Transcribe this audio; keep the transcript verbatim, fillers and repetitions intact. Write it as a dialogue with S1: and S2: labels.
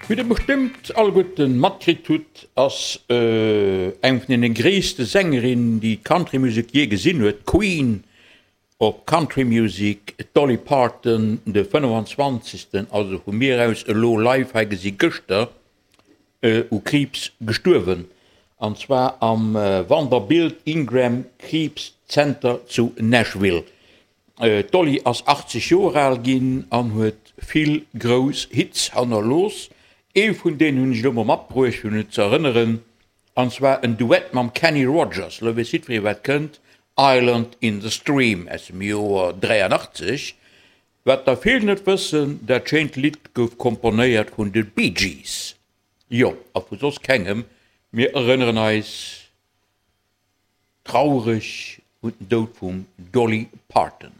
S1: Wéi der bestëmmt alleguerten matkritt hutt, ass eng vun deene gréisste Sängerinnen, déi d'Country Music jee gesinn huet, d'Queen of Country Music, d'Dolly Parton, de fënnefanzwanzegsten, also vu mir aus elo live hei gesi gëschter, u Kriibs gestuerwen, an zwar am Vanderbilt Ingram Kriibszenter zu Nashville. D'Dolly ass achtzeg Joer al ginn an huet vill grouss Hits hannerlooss. Ee vun deenen hunn ech elo mol matbruecht, fir un et ze erënneren, an zwar en Duett mam Kenny Rogers. Elo weess jiddweree wat kënnt, Island in the Stream aus dem Joer dräianachtzeg. Wat der vill net wëssen, dat schéint Lidd gouf komponéiert vun de Bee Gees. Jo, a vu soss kengem. Mir erënneren eis traureg un den Doud vum Dolly Parton.